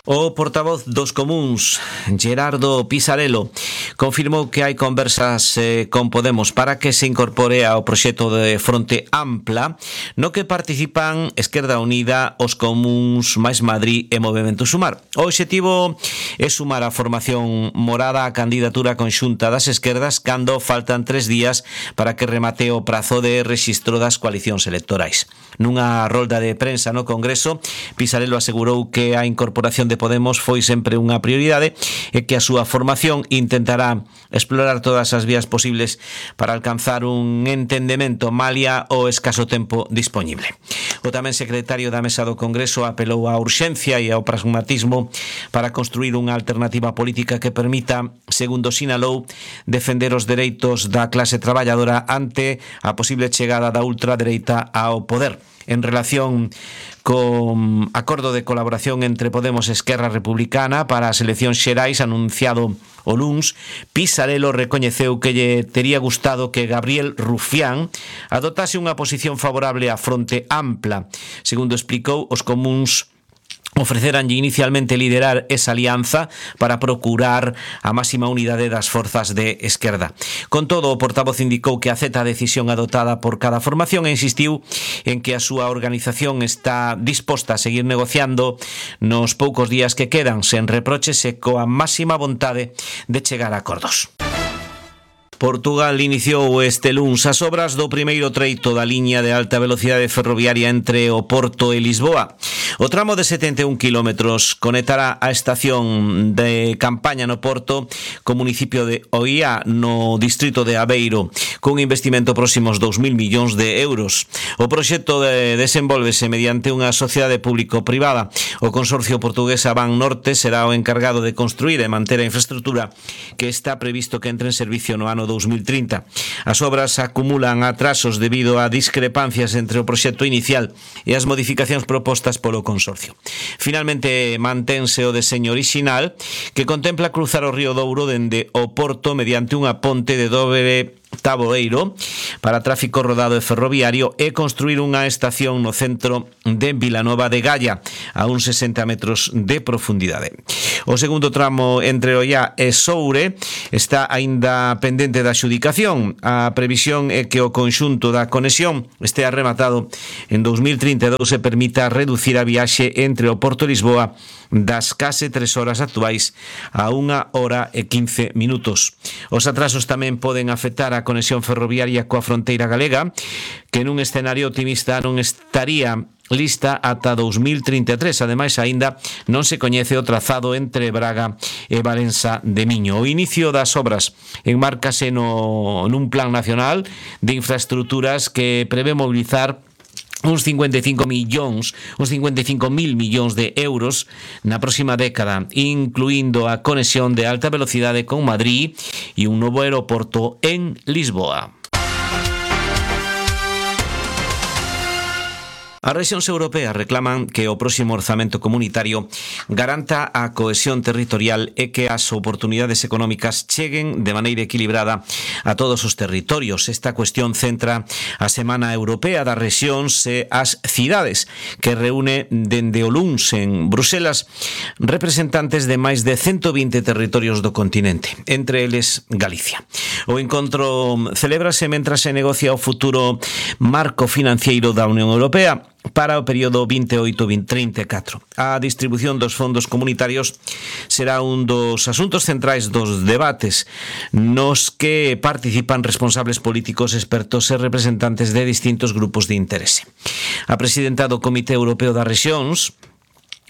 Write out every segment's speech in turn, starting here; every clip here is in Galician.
O portavoz dos Comuns, Gerardo Pisarello, confirmou que hai conversas con Podemos para que se incorpore ao proxecto de Fronte Ampla, no que participan Esquerda Unida, os Comuns, Mais Madrid e Movemento Sumar. O obxectivo é sumar a formación morada á candidatura conxunta das esquerdas cando faltan 3 días para que remate o prazo de rexistro das coalicións electorais. Nunha rolda de prensa no Congreso, Pisarello asegurou que a incorporación de Podemos foi sempre unha prioridade e que a súa formación intentará explorar todas as vías posibles para alcanzar un entendemento malia o escaso tempo dispoñible. O tamén secretario da Mesa do Congreso apelou á urxencia e ao pragmatismo para construir unha alternativa política que permita, segundo sinalou, defender os dereitos da clase traballadora ante a posible chegada da ultradereita ao poder. En relación con acordo de colaboración entre Podemos e Esquerra Republicana para as eleccións xerais anunciado o luns, Pisarello recoñeceu que lle tería gustado que Gabriel Rufián adoptase unha posición favorable á Fronte Ampla. Segundo explicou, os Comuns ofreceranlle inicialmente liderar esa alianza para procurar a máxima unidade das forzas de esquerda. Con todo, o portavoz indicou que acepta a decisión adoptada por cada formación e insistiu en que a súa organización está disposta a seguir negociando nos poucos días que quedan, sen reproches e coa máxima vontade de chegar a acordos. Portugal iniciou este luns as obras do primeiro treito da liña de alta velocidade ferroviaria entre o Porto e Lisboa. O tramo de 71 kilómetros conectará a estación de Campaña no Porto co municipio de Oía no distrito de Aveiro, cun investimento próximo aos 2.000 millóns de euros. O proxecto desenvólvese mediante unha sociedade público-privada. O consorcio portugués Avan Norte será o encargado de construir e manter a infraestructura que está previsto que entre en servicio no ano 2030. As obras acumulan atrasos debido a discrepancias entre o proxecto inicial e as modificacións propostas polo consorcio. Finalmente, mantense o deseño orixinal que contempla cruzar o río Douro dende o Porto mediante unha ponte de dobre taboeiro para tráfico rodado e ferroviario e construir unha estación no centro de Vilanova de Gaia a uns 60 metros de profundidade. O segundo tramo entre Ollá e Soure está aínda pendente da adxudicación. A previsión é que o conxunto da conexión estea rematado en 2032 e permita reducir a viaxe entre o Porto e Lisboa das case 3 horas actuais a 1 hora e 15 minutos. Os atrasos tamén poden afectar a conexión ferroviaria coa fronteira galega, que nun escenario optimista non estaría lista ata 2033. Ademais, aínda non se coñece o trazado entre Braga e Valença de Miño. O inicio das obras enmárcase nun plan nacional de infraestructuras que prevé mobilizar uns 55.000 millóns de euros na próxima década, incluindo a conexión de alta velocidade con Madrid e un novo aeroporto en Lisboa. As rexións europeas reclaman que o próximo orzamento comunitario garanta a cohesión territorial e que as oportunidades económicas cheguen de maneira equilibrada a todos os territorios. Esta cuestión centra a Semana Europea das Rexións e as cidades, que reúne dende o luns en Bruselas representantes de máis de 120 territorios do continente, entre eles Galicia. O encontro celébrase mentras se negocia o futuro marco financiero da Unión Europea para o período 28-34. A distribución dos fondos comunitarios será un dos asuntos centrais dos debates nos que participan responsables políticos, expertos e representantes de distintos grupos de interese. A presidenta do Comité Europeo das Rexións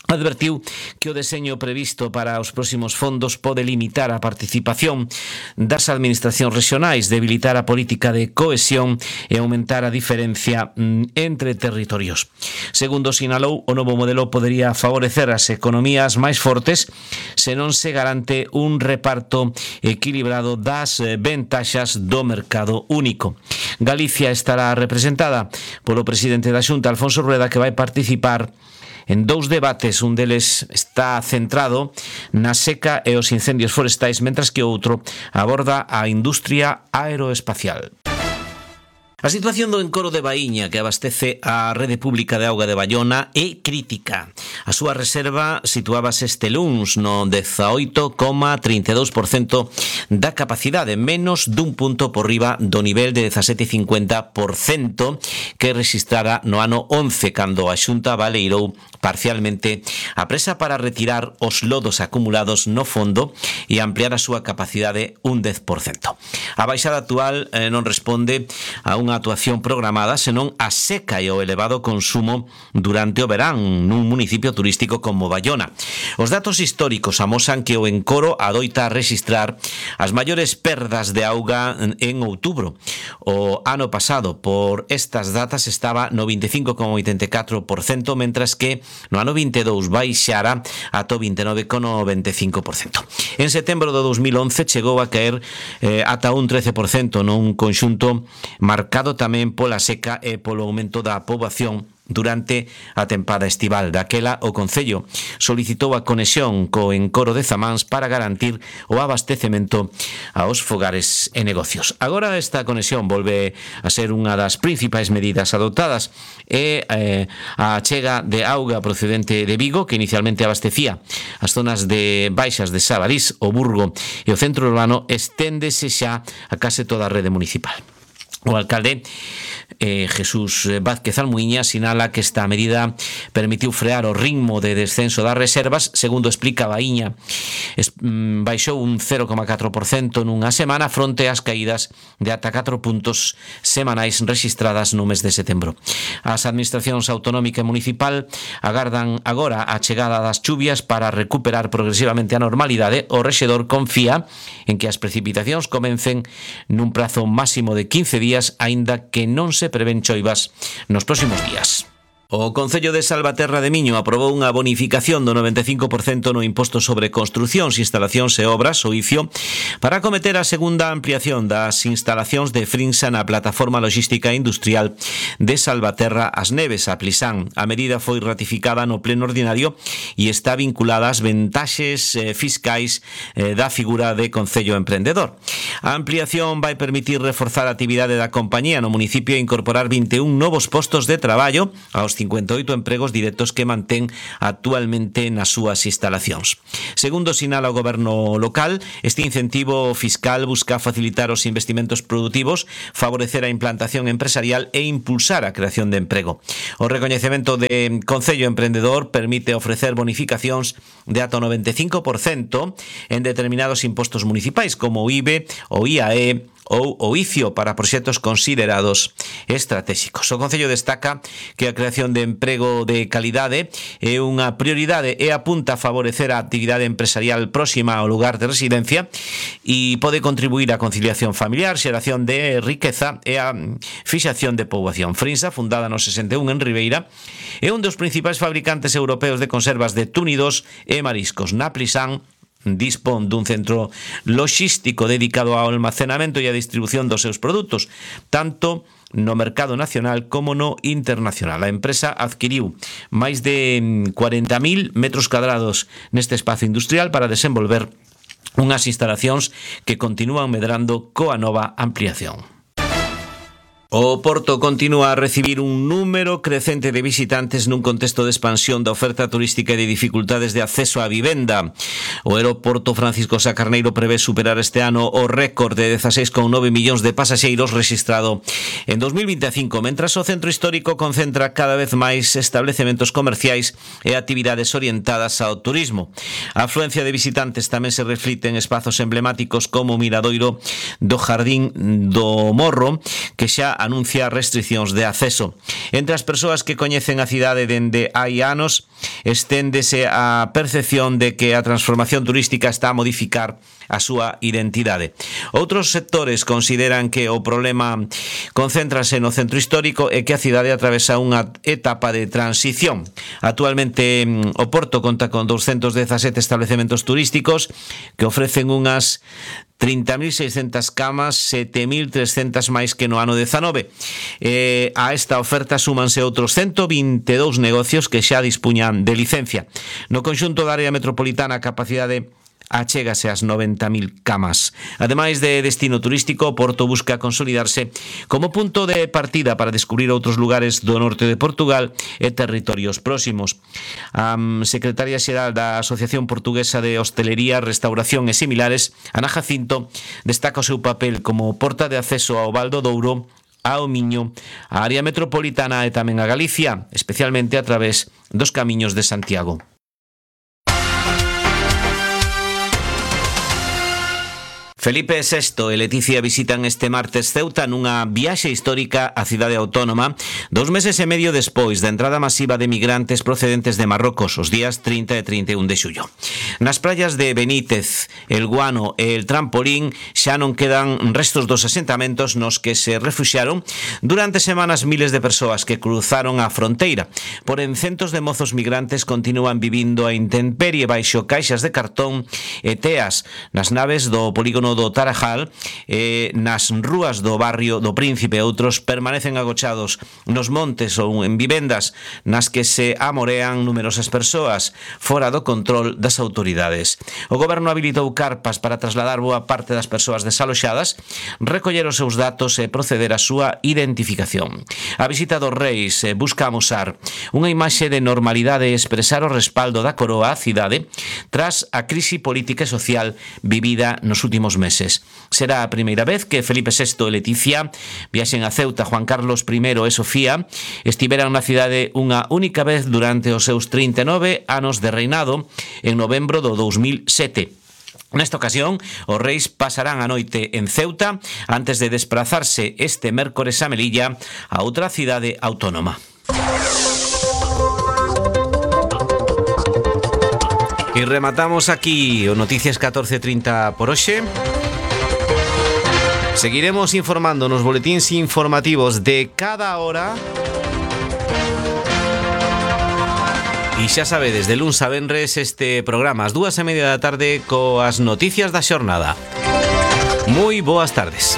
advertiu que o deseño previsto para os próximos fondos pode limitar a participación das administracións regionais, debilitar a política de cohesión e aumentar a diferencia entre territorios. Segundo sinalou, o novo modelo podería favorecer as economías máis fortes se non se garante un reparto equilibrado das ventaxas do mercado único. Galicia estará representada polo presidente da Xunta, Alfonso Rueda, que vai participar en dous debates. Un deles está centrado na seca e os incendios forestais, mentras que o outro aborda a industria aeroespacial. A situación do encoro de Baíña, que abastece a rede pública de auga de Baiona, é crítica. A súa reserva situábase este luns no 18,32% da capacidade, menos dun punto por riba do nivel de 17,50% que registrara no ano 11, cando a Xunta baleirou parcialmente a presa para retirar os lodos acumulados no fondo e ampliar a súa capacidade un 10%. A baixada actual non responde a unha actuación programada, senón a seca e o elevado consumo durante o verán nun municipio turístico como Baiona. Os datos históricos amosan que o encoro adoita registrar as maiores perdas de auga en outubro. O ano pasado, por estas datas, estaba no 25,84%, mentras que no ano 22 baixara ata o 29,95%. En setembro do 2011 chegou a caer ata un 13% nun conxunto marcado tamén pola seca e polo aumento da poboación durante a tempada estival. Daquela, o Concello solicitou a conexión co encoro de Zamáns para garantir o abastecemento aos fogares e negocios. Agora esta conexión volve a ser unha das principais medidas adoptadas e a chega de auga procedente de Vigo, que inicialmente abastecía as zonas de baixas de Sabarís, o Burgo e o centro urbano, esténdese xa a case toda a rede municipal. O alcalde Jesús Vázquez Almuíña sinala que esta medida permitiu frear o ritmo de descenso das reservas. Segundo explica Baíña, baixou un 0,4% nunha semana fronte ás caídas de ata 4 puntos semanais registradas no mes de setembro. As administracións autonómica e municipal agardan agora a chegada das chuvias para recuperar progresivamente a normalidade. O rexedor confía en que as precipitacións comecen nun prazo máximo de 15 días, aínda que non se prevén choivas nos próximos días. O Concello de Salvaterra de Miño aprobou unha bonificación do 95% no imposto sobre construcións, instalacións e obras, o ICIO, para acometer a segunda ampliación das instalacións de Frinsa na plataforma logística industrial de Salvaterra As Neves, a Plisán. A medida foi ratificada no pleno ordinario e está vinculada ás ventaxes fiscais da figura de Concello Emprendedor. A ampliación vai permitir reforzar a actividade da compañía no municipio e incorporar 21 novos postos de traballo aos 58 empregos directos que mantén actualmente nas súas instalacións. Segundo sinala o goberno local, este incentivo fiscal busca facilitar os investimentos produtivos, favorecer a implantación empresarial e impulsar a creación de emprego. O recoñecemento de Concello Emprendedor permite ofrecer bonificacións de ata o 95% en determinados impostos municipais como o IBE, o IAE ou o ICIO para proxectos considerados estratégicos. O Concello destaca que a creación de emprego de calidade é unha prioridade e apunta a favorecer a actividade empresarial próxima ao lugar de residencia e pode contribuir á conciliación familiar, xeración de riqueza e a fixación de poboación. Frinsa, fundada no 61 en Ribeira, é un dos principais fabricantes europeos de conservas de túnidos e mariscos. Na Plisán dispón dun centro logístico dedicado ao almacenamento e a distribución dos seus produtos, tanto no mercado nacional como no internacional. A empresa adquiriu máis de 40.000 metros cuadrados neste espazo industrial para desenvolver unhas instalacións que continúan medrando coa nova ampliación. O Porto continúa a recibir un número crecente de visitantes nun contexto de expansión da oferta turística e de dificultades de acceso á vivenda. O aeroporto Francisco Sá Carneiro prevé superar este ano o récord de 16,9 millóns de pasaxeiros registrado en 2025, mentras o centro histórico concentra cada vez máis establecementos comerciais e actividades orientadas ao turismo. A afluencia de visitantes tamén se reflite en espazos emblemáticos como o Miradoiro do Jardín do Morro, que xa anuncia restriccións de acceso. Entre as persoas que coñecen a cidade dende hai anos, esténdese a percepción de que a transformación turística está a modificar a súa identidade. Outros sectores consideran que o problema concéntrase no centro histórico e que a cidade atravesa unha etapa de transición. Actualmente o Porto conta con 217 establecementos turísticos que ofrecen unhas 30.600 camas, 7.300 máis que no ano 19. A esta oferta súmanse outros 122 negocios que xa dispuñan de licencia. No conxunto da área metropolitana a capacidade achégase ás 90.000 camas. Ademais de destino turístico, Porto busca consolidarse como punto de partida para descubrir outros lugares do norte de Portugal e territorios próximos. A secretaria xeral da Asociación Portuguesa de Hostelería, Restauración e Similares, Ana Jacinto, destaca o seu papel como porta de acceso ao Val do Douro, ao Miño, a área metropolitana e tamén a Galicia, especialmente a través dos camiños de Santiago. Felipe VI e Leticia visitan este martes Ceuta nunha viaxe histórica á cidade autónoma 2 meses e medio despois da entrada masiva de migrantes procedentes de Marrocos os días 30 e 31 de xullo. Nas praias de Benítez, El Guano e El Trampolín xa non quedan restos dos asentamentos nos que se refuxiaron durante semanas miles de persoas que cruzaron a fronteira. Porén, centos de mozos migrantes continúan vivindo a intemperie baixo caixas de cartón e teas nas naves do polígono do Tarajal, nas rúas do barrio do Príncipe. Outros permanecen agochados nos montes ou en vivendas nas que se amorean numerosas persoas fora do control das autoridades. O goberno habilitou carpas para trasladar boa parte das persoas desaloxadas, recoller os seus datos e proceder á súa identificación. A visita dos reis busca amosar unha imaxe de normalidade e expresar o respaldo da coroa á cidade tras a crise política e social vivida nos últimos meses. Será a primeira vez que Felipe VI e Leticia viaxen a Ceuta. Juan Carlos I e Sofía estiveran na cidade unha única vez durante os seus 39 anos de reinado en novembro do 2007. Nesta ocasión, os reis pasarán a noite en Ceuta antes de desplazarse este mércores a Melilla, a outra cidade autónoma. E rematamos aquí o Noticias 14:30 por hoxe. Seguiremos informando nos boletíns informativos de cada hora. E xa sabedes, de luns a venres este programa ás 2:30 da tarde coas noticias da xornada. Moi boas tardes.